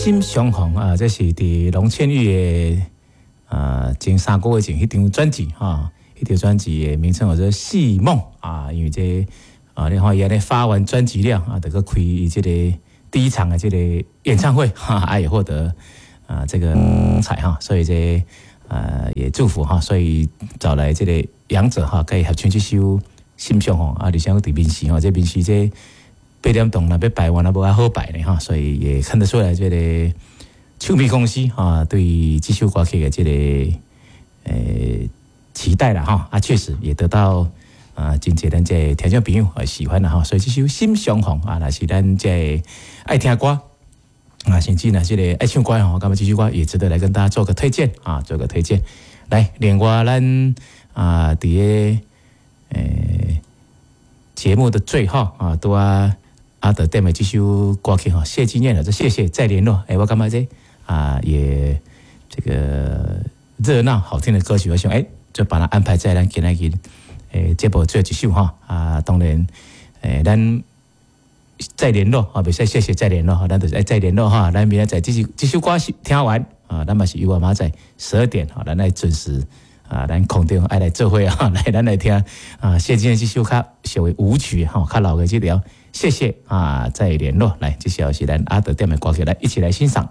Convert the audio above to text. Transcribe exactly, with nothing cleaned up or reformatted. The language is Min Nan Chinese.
心相逢啊，這是佇龍倩玉的啊前三個月前彼張專輯哈，彼張專輯的名稱叫做《戲夢》啊，因為這啊，你看伊按呢發完專輯了啊，就閣開伊這個第一場的這個演唱會哈，啊也獲得啊這個彩哈，所以這啊也祝福哈，所以找來這個楊哲哈，佮伊合唱這首《心相逢》啊，而且佇面試吼，這面試這八點鐘若欲排完啊，無遐好排呢哈，所以也看得出來這個唱片公司哈對這首歌曲的這個呃期待啦哈，啊確實也得到啊真濟咱這個聽眾朋友啊喜歡啦哈，所以這首《心相逢》啊，若是咱這個愛聽歌啊，甚至呢這個愛唱歌吼，感覺這首歌也值得來跟大家做個推薦啊，做個推薦。來，另外咱啊佇個呃節目的最後啊，拄仔阿德點的這首歌曲哈，謝金燕的這謝謝再聯絡，欸，我感覺這啊也這個熱鬧好聽的歌曲，我想欸，就把它安排在咱今仔日欸節目最後一首哈啊，當然欸咱再聯絡啊，袂使謝謝再聯絡哈，咱就是愛再聯絡哈，咱明仔載這首這首歌是聽完啊，咱嘛是有啊明仔載十二點哈，咱來準時啊，咱空中愛來做伙啊，來咱來聽啊，謝金燕這首較屬於舞曲哈，較老的這條，謝謝啊，再聯絡，來，這首是咱阿德點的歌曲，來一起來欣賞。